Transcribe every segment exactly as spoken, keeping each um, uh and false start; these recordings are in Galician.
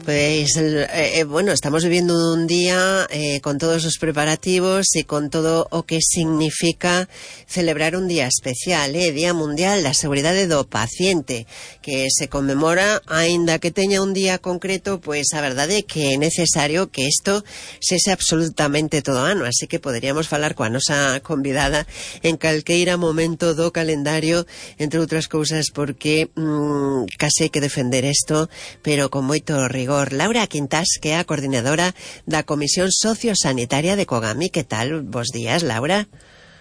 Pues, eh, bueno, estamos vivindo un día eh, con todos os preparativos e con todo o que significa celebrar un día especial, eh, Día Mundial da Seguridade do Paciente, que se conmemora, aínda que teña un día concreto, pois a verdade é que é necesario que isto sese absolutamente todo ano, así que poderíamos falar coa nosa convidada en calqueira momento do calendario, entre outras cousas, porque mmm, case hai que defender isto, pero con moito rigor. Laura Quintás, que é a coordinadora da Comisión Sociosanitaria de Cogami. Que tal? Bos días, Laura.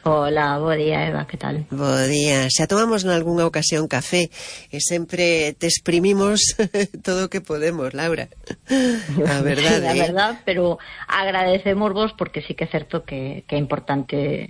Hola, bo día, Eva, que tal? Bo día. Xa tomamos nalgúnha ocasión café e sempre te exprimimos todo o que podemos, Laura. A verdade, sí, a eh? verdad, pero agradecemos vos porque sí que é certo que, que é importante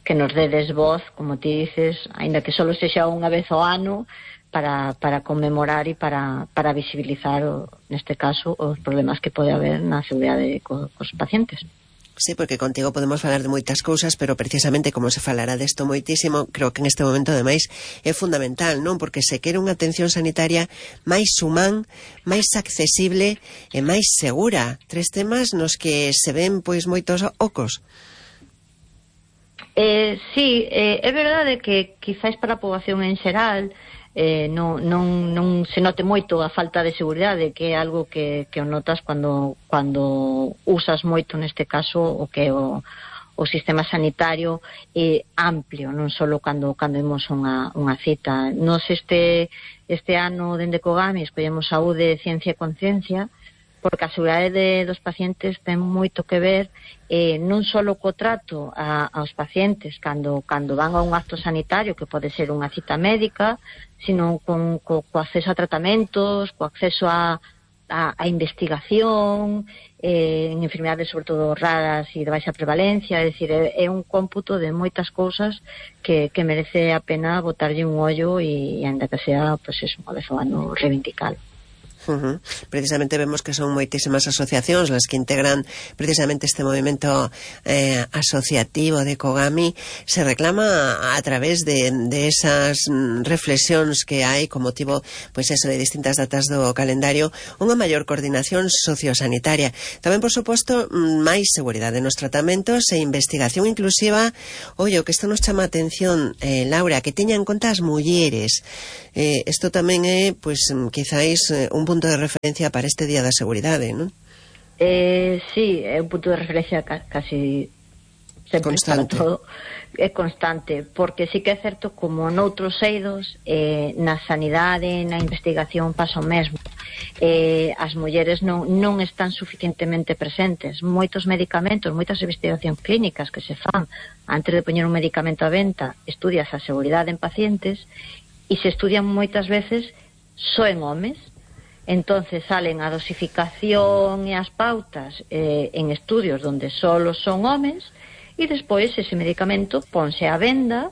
que nos dedes voz, como ti dices, aínda que solo sexa unha vez ao ano, para, para conmemorar e para, para visibilizar, o, neste caso, os problemas que pode haber na seguridade co, cos pacientes. Sí, porque contigo podemos falar de moitas cousas, pero precisamente como se falará desto moitísimo, creo que en este momento ademais é fundamental, non? Porque se quere unha atención sanitaria máis humán, máis accesible e máis segura. Tres temas nos que se ven pois moitos ocos. Eh, sí, eh, é verdade que quizáis para a poboación en xeral eh, non, non, non se note moito a falta de seguridade, que é algo que, que o notas cando, cando usas moito, neste caso, o que é o, o sistema sanitario é amplio, non só cando, cando imos unha, unha cita. Nos este, este ano, dende Cogami, escollemos saúde, ciencia e conciencia, porque a seguridade de, dos pacientes ten moito que ver eh, non só co trato a, aos pacientes cando, cando van a un acto sanitario, que pode ser unha cita médica, sino con, co, co acceso a tratamentos, co acceso a, a, a investigación, eh, en enfermidades sobre todo raras e de baixa prevalencia, é dicir, é, é un cómputo de moitas cousas que, que merece a pena botarlle un ollo e, e ainda que sea, pois, pues, unha vez ao ano reivindicalo. Uh-huh. Precisamente vemos que son moitísimas asociacións las que integran precisamente este movimento eh, asociativo de Cogami. Se reclama a través de, de esas reflexións que hai con motivo, pois eso, de distintas datas do calendario, unha maior coordinación sociosanitaria. Tamén, por suposto, máis seguridade nos tratamentos e investigación inclusiva. Ollo, que isto nos chama a atención, eh, Laura, que teña en conta as mulleres. Eh, isto tamén é, pois, quizáis un punto de referencia para este Día da Seguridade, non? Eh, sí, é un punto de referencia ca casi sempre constante. Para todo. É constante, porque sí que é certo, como noutros eidos, eh, na sanidade, na investigación pasa o mesmo. Eh, as mulleres non, non están suficientemente presentes. Moitos medicamentos, moitas investigacións clínicas que se fan antes de poñer un medicamento a venta, estudias a seguridade en pacientes e se estudian moitas veces só en homes. Entonces salen a dosificación e as pautas eh, en estudios donde solo son homes e despois ese medicamento ponse a venda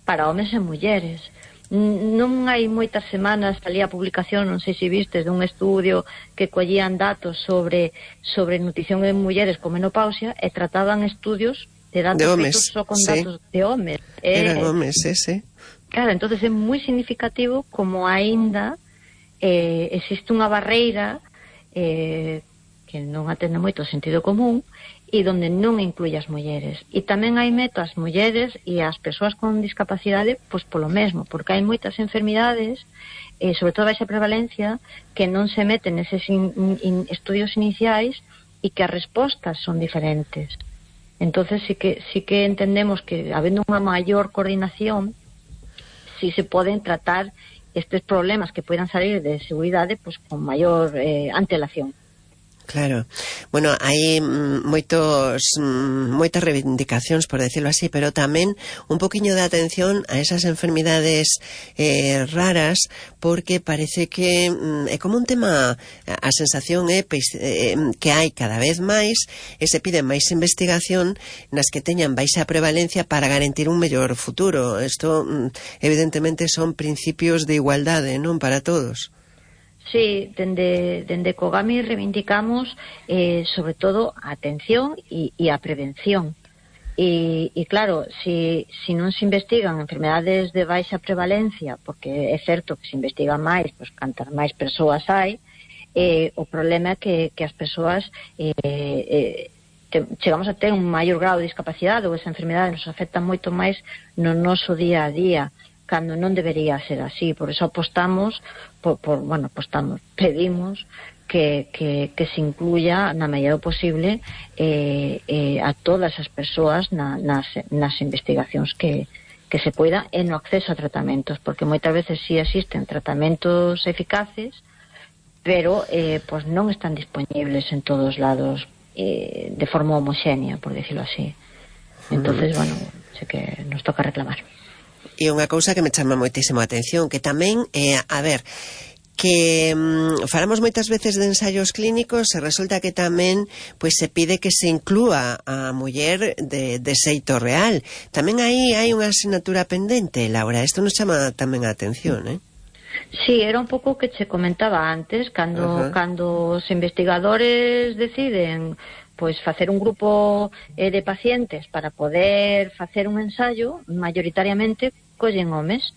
para homes e mulleres. Non hai moitas semanas salía a publicación, non sei se vistes, dun estudio que collían datos sobre sobre nutrición en mulleres con menopausia e trataban estudios de datos de homes, só con sí. datos de homes. Eran eh, homes, ese. Claro, entonces é moi significativo como aínda Eh, existe unha barreira eh, que non atende moito o sentido común e donde non incluye as mulleres. E tamén hai meto as mulleres e as persoas con discapacidade pois polo mesmo, porque hai moitas enfermidades, eh, sobre todo baixa prevalencia, que non se meten neses in, in, estudios iniciais e que as respostas son diferentes. Entonces sí que, sí que entendemos que habendo unha maior coordinación si se poden tratar estes problemas que poidan salir de seguridade pois con maior eh, antelación. Claro. Bueno, hai moitos moitas reivindicacións, por decirlo así, pero tamén un poquiño de atención a esas enfermidades eh, raras, porque parece que mm, é como un tema, a sensación é eh, que hai cada vez máis e se pide máis investigación nas que teñan baixa prevalencia para garantir un mellor futuro. Isto mm, evidentemente son principios de igualdade, non, para todos. Sí, dende, dende Cogami reivindicamos eh, sobre todo a atención e, e a prevención. E, e claro, si, si non se investigan enfermedades de baixa prevalencia, porque é certo que se investigan máis, pois cantas máis persoas hai, eh, o problema é que, que as persoas eh, eh, te, chegamos a ter un maior grado de discapacidade, ou esa enfermedade nos afecta moito máis no noso día a día, cando non debería ser así. Por eso apostamos, por, por, bueno, apostamos, pedimos que, que, que se incluya na medida posible eh, eh, a todas as persoas na, nas, nas investigacións que, que se poida e no acceso a tratamentos, porque moitas veces sí existen tratamentos eficaces, pero eh, pues non están disponibles en todos lados eh, de forma homoxénea, por decirlo así. Entonces, bueno, sé que nos toca reclamar. E unha cousa que me chama moitísimo a atención, que tamén, eh, a ver, que mm, falamos moitas veces de ensaios clínicos e resulta que tamén pois se pide que se inclúa a muller de, de xeito real. Tamén aí hai unha asignatura pendente, Laura. Isto nos chama tamén a atención, eh? Sí, era un pouco o que che comentaba antes, cando, uh-huh. cando os investigadores deciden pois facer un grupo eh, de pacientes para poder facer un ensaio, mayoritariamente collen homes.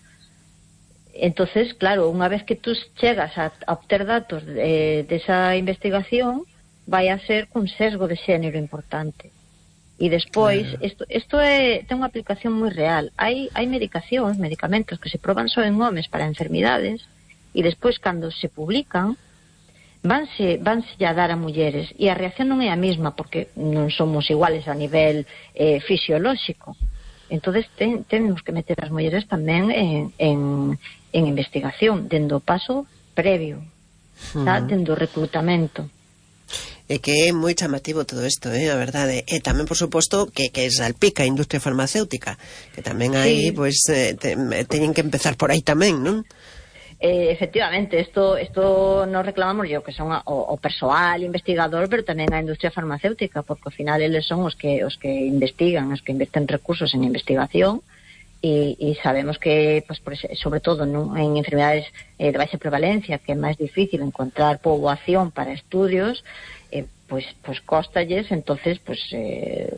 Entonces, claro, unha vez que tú chegas a, a obter datos de, desa investigación, vai a ser cun sesgo de xénero importante. E despois, isto, isto é, ten unha aplicación moi real. Hai, hai medicacións, medicamentos que se proban só en homes para enfermidades, e despois, cando se publican, vanse, vanse a dar a mulleres, e a reacción non é a mesma, porque non somos iguales a nivel eh, fisiolóxico. Entonces, ten, tenemos que meter as mulleres tamén en, en, en investigación, dendo o paso previo, uh-huh. tá? Dendo o reclutamento. É que é moi chamativo todo isto, eh, a verdade. E tamén, por suposto, que, que salpica a industria farmacéutica, que tamén aí, sí. pois, eh, te, teñen que empezar por aí tamén, non? Eh, efectivamente, esto, esto nos reclamamos yo, que son a, o, o persoal investigador, pero tamén a industria farmacéutica, porque ao final eles son os que os que investigan, os que invisten recursos en investigación, e, e sabemos que, pues, por, sobre todo ¿no? en enfermedades eh, de baixa prevalencia, que é máis difícil encontrar poboación para estudios, eh, pues, pues costalles, entonces pues eh,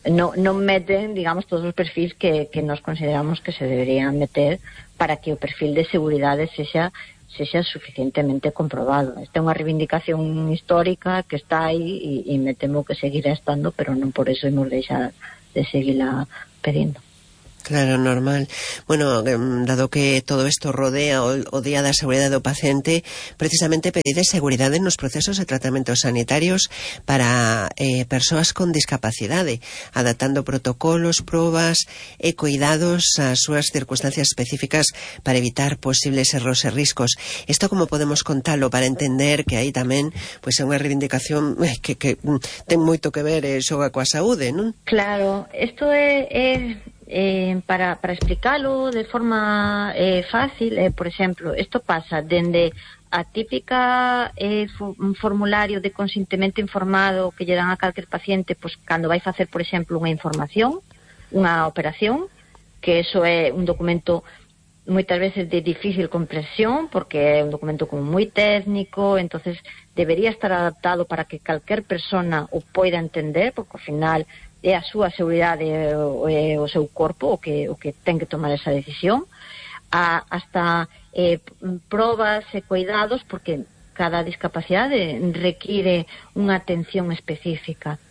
no, non meten, digamos, todos os perfis que, que nos consideramos que se deberían meter para que o perfil de seguridade sexa, sexa suficientemente comprobado. Esta é unha reivindicación histórica que está aí e, e me temo que seguirá estando, pero non por eso hemos deixar de seguirla pedindo. Claro, normal. Bueno, dado que todo isto rodea o, o Día da Seguridade do Paciente, precisamente pedide seguridade nos procesos de tratamentos sanitarios para eh, persoas con discapacidade, adaptando protocolos, probas e cuidados ás súas circunstancias específicas para evitar posibles erros e riscos. Isto como podemos contalo para entender que aí tamén pois é unha reivindicación que, que ten moito que ver e xoga coa saúde, non? Claro, isto é... é... Eh, para, para explicarlo de forma eh, fácil, eh, por exemplo, isto pasa dende a típica eh, un formulario de consentimento informado que lle dan a calquer paciente pois, cando vai facer, por exemplo, unha información, unha operación, que eso é un documento moitas veces de difícil comprensión, porque é un documento como moi técnico, entonces debería estar adaptado para que calquer persona o poida entender, porque ao final é a súa seguridade e o seu corpo o que, o que ten que tomar esa decisión, a, hasta eh, probas e cuidados, porque cada discapacidade require unha atención específica.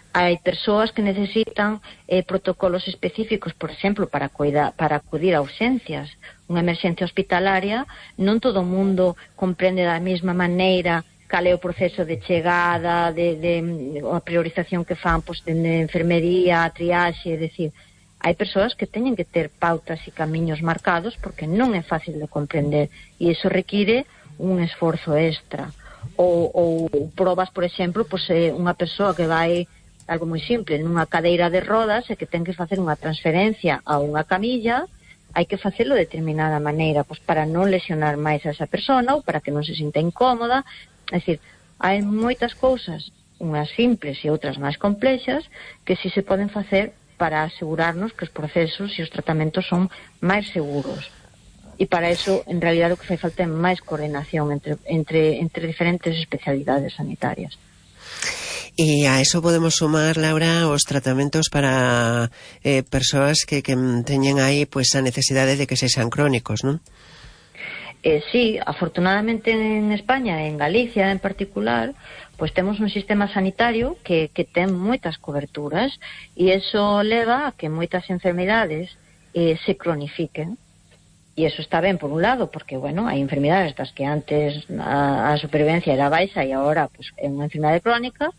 Hai persoas que necesitan eh, protocolos específicos, por exemplo, para, cuida, para acudir a urxencias. Unha emerxencia hospitalaria, non todo o mundo comprende da mesma maneira cal é o proceso de chegada, de, de a priorización que fan pois, de, de enfermería, triaxe, é dicir, hai persoas que teñen que ter pautas e camiños marcados porque non é fácil de comprender e iso require un esforzo extra. Ou, ou probas, por exemplo, pois, eh, unha persoa que vai, algo moi simple, nunha cadeira de rodas e que ten que facer unha transferencia a unha camilla, hai que facelo de determinada maneira, pois para non lesionar máis a esa persona ou para que non se sinta incómoda. É dicir, hai moitas cousas, unhas simples e outras máis complexas, que si se poden facer para asegurarnos que os procesos e os tratamentos son máis seguros. E para eso, en realidad, o que fai falta é máis coordinación entre, entre, entre diferentes especialidades sanitarias. E a eso podemos sumar, Laura, os tratamentos para eh, persoas que, que teñen aí pues, a necesidade de que sexan crónicos, non? Eh, sí, afortunadamente en España, en Galicia en particular, pues temos un sistema sanitario que, que ten moitas coberturas e iso leva a que moitas enfermidades eh, se cronifiquen. E iso está ben por un lado, porque, bueno, hai enfermidades das que antes a, a supervivencia era baixa e agora pues, é unha enfermidade crónica,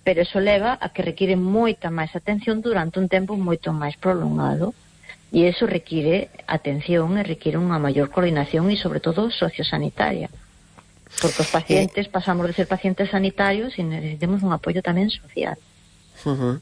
pero iso leva a que require moita máis atención durante un tempo moito máis prolongado. E iso require atención e require unha maior coordinación e, sobre todo, sociosanitaria. Porque os pacientes pasamos de ser pacientes sanitarios e necesitamos un apoio tamén social. Uh-huh.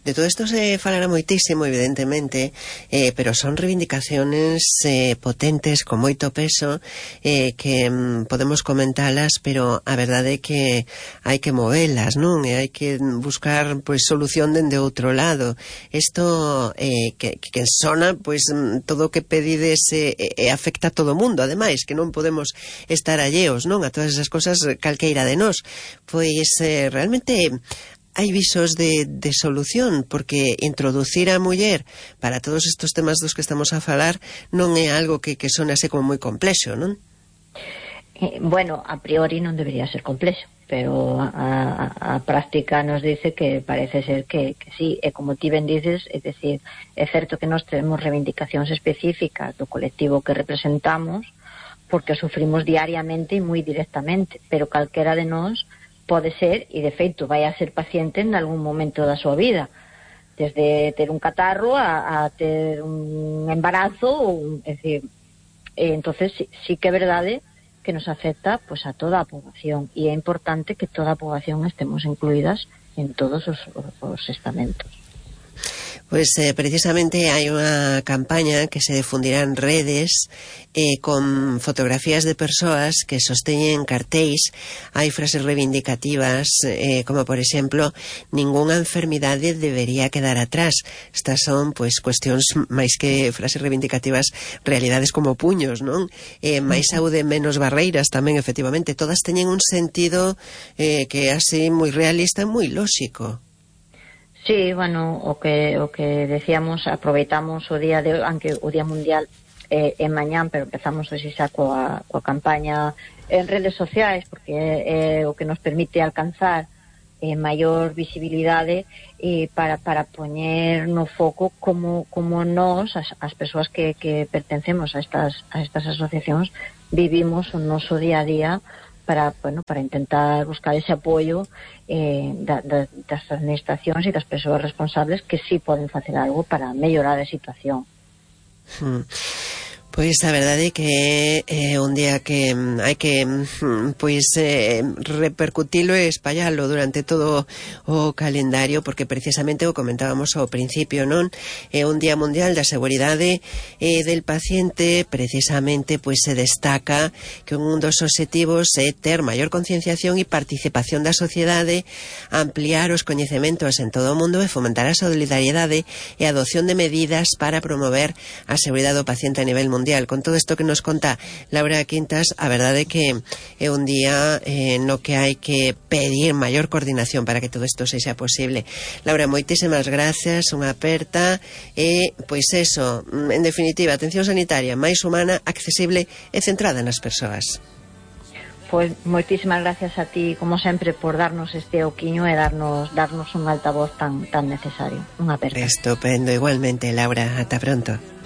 De todo isto se falará moitísimo, evidentemente, eh, pero son reivindicaciones eh, potentes, con moito peso, eh, que mm, podemos comentalas, pero a verdade é que hai que movelas, non? E hai que buscar pois solución dende outro lado. Isto eh, que, que sona, pois todo o que pedides eh, eh, afecta a todo o mundo, ademais, que non podemos estar alleos, non? A todas esas cosas calqueira de nós. Pois eh, realmente hai visos de, de solución, porque introducir a muller para todos estes temas dos que estamos a falar non é algo que, que son así como moi complexo, non? Eh, bueno, a priori non debería ser complexo, pero a, a, a práctica nos dice que parece ser que, que sí, e como ti ben dices, é dicir, é certo que nós temos reivindicacións específicas do colectivo que representamos, porque sufrimos diariamente e moi directamente, pero calquera de nós pode ser, e de feito vai a ser paciente en algún momento da súa vida, desde ter un catarro a, a ter un embarazo, ou, é dicir, e entonces sí, sí que é verdade que nos afecta pues, a toda a poboación, e é importante que toda a poboación estemos incluídas en todos os, os estamentos. Pois eh, precisamente hai unha campaña que se difundirá en redes eh, con fotografías de persoas que sosteñen cartéis. Hai frases reivindicativas eh, como por exemplo, ningunha enfermidade debería quedar atrás. Estas son pois cuestións máis que frases reivindicativas, realidades como puños, non? Eh, máis saúde, menos barreiras tamén, efectivamente. Todas teñen un sentido eh, que é así moi realista e moi lóxico. Sí, bueno, o que o que decíamos, aproveitamos o día de aunque o Día Mundial é, é mañán, pero empezamos hoxe xa coa, coa campaña en redes sociais, porque é, é o que nos permite alcanzar eh, maior visibilidade eh, para, para poñer no foco como, como nós, as, as persoas que, que pertencemos a estas, a estas asociacións, vivimos o noso día a día para, bueno, para intentar buscar ese apoio eh, da, da, das administracións e das persoas responsables que sí poden facer algo para mellorar a situación. Hmm. Pois a verdade é que é un día que hai que pois eh, repercutilo e espallalo durante todo o calendario, porque precisamente o comentábamos ao principio, non? É un día mundial da seguridade eh, del paciente. Precisamente pois se destaca que un dos obxectivos é ter maior concienciación e participación da sociedade, ampliar os coñecementos en todo o mundo e fomentar a solidariedade e a adopción de medidas para promover a seguridade do paciente a nivel mundial. Con todo isto que nos conta Laura Quintas, a verdade é que é un día eh, no que hai que pedir maior coordinación para que todo isto sexa posible. Laura, moitísimas gracias, unha aperta e, pois eso, en definitiva, atención sanitaria máis humana, accesible e centrada nas persoas. Pois moitísimas gracias a ti, como sempre, por darnos este oquiño e darnos darnos un altavoz tan tan necesario. Unha aperta. Estupendo, igualmente, Laura, ata pronto.